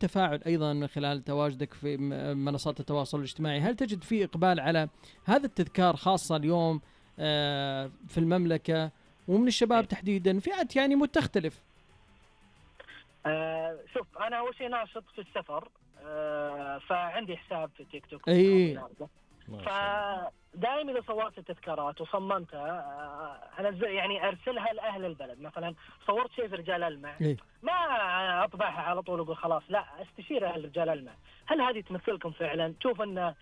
التفاعل أيضا من خلال تواجدك في منصات التواصل الاجتماعي؟ هل تجد فيه إقبال على هذا التذكار خاصة اليوم في المملكة ومن الشباب تحديدا فئات يعني متختلف؟ شوف أنا أول شيء ناشط في السفر، فعندي حساب في تيك توك. فدائما إذا صورت التذكارات وصممتها أنزل يعني أرسلها لأهل البلد. مثلا صورت شيء في رجال المع، ما أطبعها على طول وأقول خلاص، لا، استشير أهل رجال المع، هل هذه تمثلكم فعلا؟ تشوف أن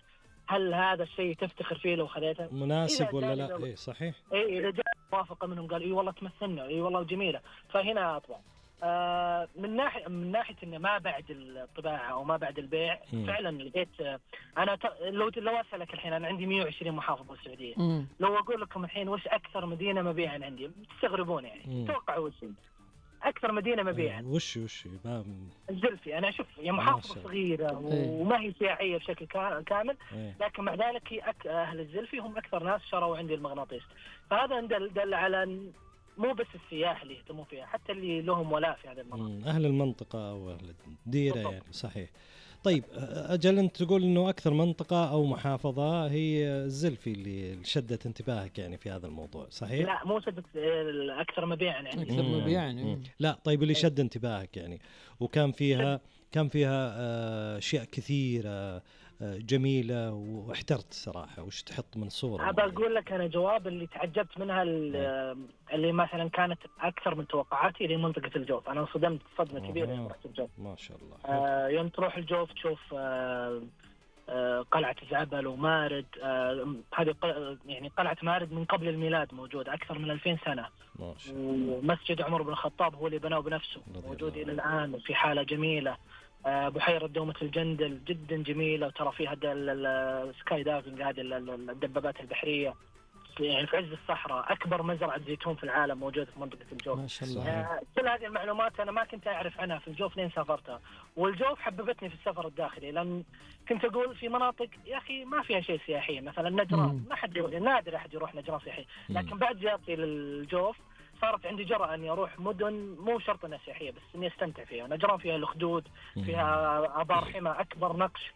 هل هذا الشيء تفتخر فيه لو خذيته مناسب ولا لا؟ صحيح. إذا جاء موافقة منهم قال والله تمثلنا، والله جميلة، فهنا أطبع. من ناحية إنه ما بعد الطباعة أو ما بعد البيع، فعلا لقيت أنا لو أسألك الحين أنا عندي 120 محافظة السعودية، لو أقول لكم الحين وش أكثر مدينة مبيعا عندي تستغربون يعني. توقعوا وش أكثر مدينة مبيعا؟ وش الزلفي. أنا أشوف يا محافظة صغيرة وما هي سياحية بشكل كامل، لكن مع ذلك أهل الزلفي هم أكثر ناس شروا عندي المغناطيس. فهذا دل على مو بس السياح اللي يهتمون فيها، حتى اللي لهم ولاء في هذه المنطقة، أهل المنطقة أو أهل الديرة يعني. صحيح. طيب أجل أنت تقول إنه أكثر منطقة أو محافظة هي الزلفي اللي شدت انتباهك يعني في هذا الموضوع، صحيح؟ لا مو شدت، أكثر مبيعا يعني. أكثر مبيعا. لا طيب اللي شد انتباهك يعني وكان فيها أشياء كثيرة جميلة واحترت صراحة، وش تحط من صورة؟ أبى أقول لك أنا جواب اللي تعجبت منها اللي مثلا كانت أكثر من توقعاتي لمنطقة الجوف. أنا صدمت صدمة كبيرة يوم رحت الجوف. ما شاء الله. يوم تروح الجوف تشوف قلعة زعبل ومارد. هذه يعني قلعة مارد من قبل الميلاد موجودة أكثر من 2000 سنة. ومسجد عمر بن الخطاب هو اللي بناه بنفسه، موجود إلى الآن وفي حالة جميلة. بحيرة دومة الجندل جدا جميلة، وترى فيها السكاي دايفنج، هذه الدبابات البحرية يعني في عز الصحراء. أكبر مزرعة زيتون في العالم موجودة في منطقة الجوف. ما شاء الله. كل هذه المعلومات أنا ما كنت أعرف عنها في الجوف لين سافرتها. والجوف حببتني في السفر الداخلي، لأن كنت أقول في مناطق يا أخي ما فيها شيء سياحي، مثلا نجران ما حد نادر أحد يروح نجران سياحي. لكن بعد زيارتي للجوف صارت عندي جرأة أني أروح مدن مو شرط أنها سياحية بس أني أستمتع فيها. نجران فيها الأخدود، فيها آبار حمى، أكبر نقش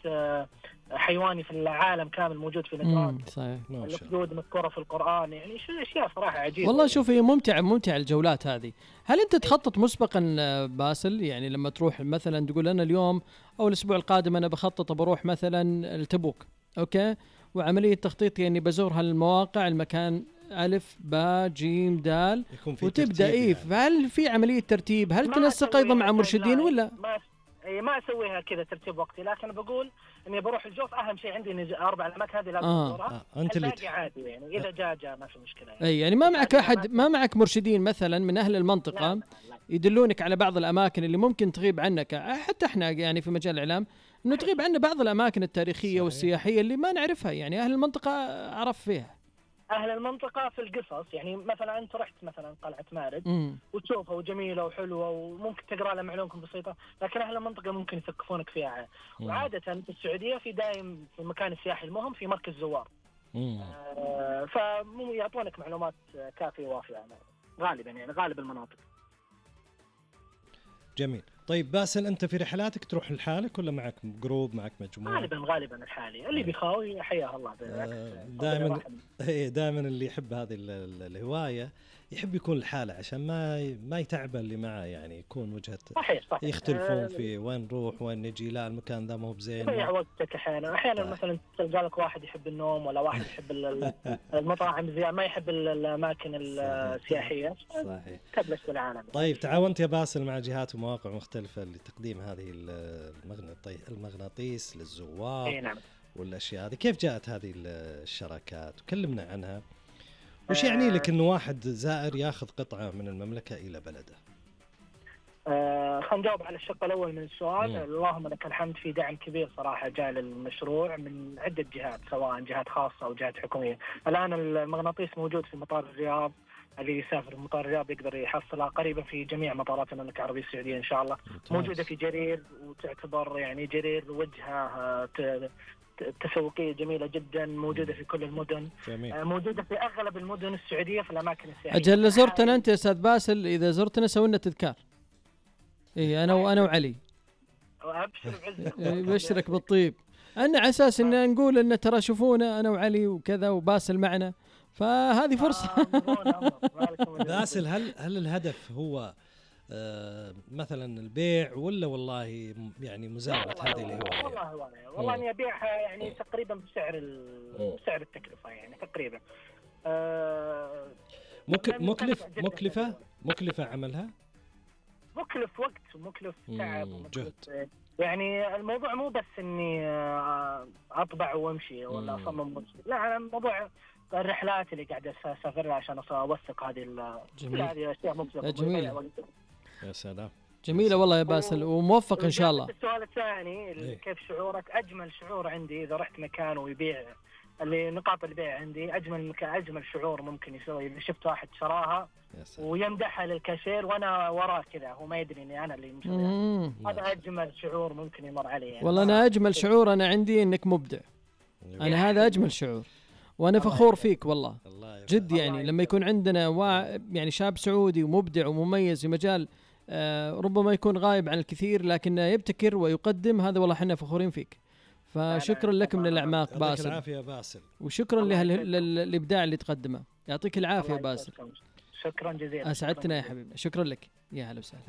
حيواني في العالم كامل موجود في نجران. صحيح. الأخدود مذكورة في القرآن، يعني أشياء صراحة عجيبة. والله شوف هي ممتعة الجولات هذه. هل أنت تخطط مسبقا باسل؟ يعني لما تروح مثلا تقول أنا اليوم أو الأسبوع القادم أنا بخطط بروح مثلا التبوك، أوكي، وعملية تخطيط يعني بزور هالمواقع المكان ألف باء جيم دال وتبدأ يعني. هل في عملية ترتيب؟ هل تنسق أيضا مع مرشدين ولا؟ ما أسويها كذا ترتيب وقتي، لكن بقول إني بروح الجوف أهم شيء عندي 4 الأماكن هذه لازم أزورها. أنت اللي عادي يعني إذا جاء ما في مشكلة يعني. يعني ما معك أحد، ما معك مرشدين مثلا من أهل المنطقة؟ لا. يدلونك على بعض الأماكن اللي ممكن تغيب عنك، حتى إحنا يعني في مجال الإعلام إنه تغيب عنا بعض الأماكن التاريخية صحيح. والسياحية اللي ما نعرفها، يعني أهل المنطقة أعرف فيها. أهل المنطقة في القصص يعني مثلا أنت رحت مثلا قلعة مارد وتشوفها وجميلة وحلوة وممكن تقرأ لها معلومة بسيطة، لكن أهل المنطقة ممكن يثقفونك فيها. وعادة في السعودية في دائم في المكان السياحي المهم في مركز زوار، فيعطونك معلومات كافية ووافية يعني غالبا، يعني غالب المناطق. جميل. طيب باسل أنت في رحلاتك تروح لحالك ولا معك جروب، معك مجموعة؟ غالبا الحالي، اللي بيخاوي حياه الله. دائما اللي يحب هذه الهواية يحب يكون لحاله عشان ما يتعب اللي معه، يعني يكون وجهة صحيح. يختلفون في وين نروح وين نجي، لا المكان ذا مو بزين، تضيع وقتك أحيانا مثلا تلقى لك واحد يحب النوم ولا واحد يحب المطاعم زيادة، ما يحب الأماكن السياحية. صحيح. تبلش بالعالم. طيب تعاونت يا باسل مع جهات ومواقع مختلفة لتقديم هذه المغناطيس للزوار نعم. والأشياء هذه، كيف جاءت هذه الشراكات؟ وكلمنا عنها. وش يعني لك إنه واحد زائر ياخذ قطعة من المملكة إلى بلده؟ خلينا نجاوب على الشق الأول من السؤال. اللهم لك الحمد، في دعم كبير صراحة جاء للمشروع من عدة جهات، سواء جهات خاصة أو جهات حكومية. الآن المغناطيس موجود في مطار الرياض، اللي يسافر مطار الرياض يقدر يحصلها قريبا في جميع مطارات المملكة العربية السعودية إن شاء الله. موجودة في جرير، وتعتبر يعني جرير وجهة تسويقية جميلة جدا، موجودة في كل المدن. موجودة في أغلب المدن السعودية في الأماكن السياحية. أجل زرتنا أنت يا أستاذ باسل، إذا زرتنا سوينا تذكار. إيه أنا وعلي. ابشر بعزك. يبشرك بالطيب. أنا على أساس إن نقول إن ترى شوفونا أنا وعلي وكذا وباسل معنا، فهذه فرصة. باسل، هل الهدف هو مثلا البيع ولا والله يعني مزاولة هذه اللي هو؟ والله اني ابيعها يعني تقريبا بسعر التكلفة يعني تقريبا. مكلفة عملها، مكلف وقت ومكلف تعب جهد. يعني الموضوع مو بس اني اطبع وامشي ولا اصمم، لا انا الموضوع الرحلات اللي قاعد اسافرها عشان اوثق هذه الاشياء مكلفة. يا سلام، جميلة والله يا باسل، وموفق إن شاء الله. السؤال الثاني كيف شعورك؟ أجمل شعور عندي إذا رحت مكان ويبيع اللي نقاط البيع عندي، أجمل شعور ممكن يسوي إذا شفت واحد شراها ويمدحها للكاشير وأنا وراه كذا هو ما يدري إني أنا اللي مشتريها. هذا أجمل شعور ممكن يمر علي يعني. والله أنا أجمل شعور أنا عندي إنك مبدع. أنا هذا أجمل شعور، وأنا فخور فيك والله جد. يعني لما يكون عندنا يعني شاب سعودي ومبدع ومميز في مجال ربما يكون غايب عن الكثير لكن يبتكر ويقدم، هذا والله احنا فخورين فيك. فشكرا لك من الأعماق باسل. العافية باسل، وشكرا للإبداع اللي تقدمه. يعطيك العافية باسل. شكرا جزيلا. أسعدتنا يا حبيبي، شكرا لك. يا هلا وسهلا.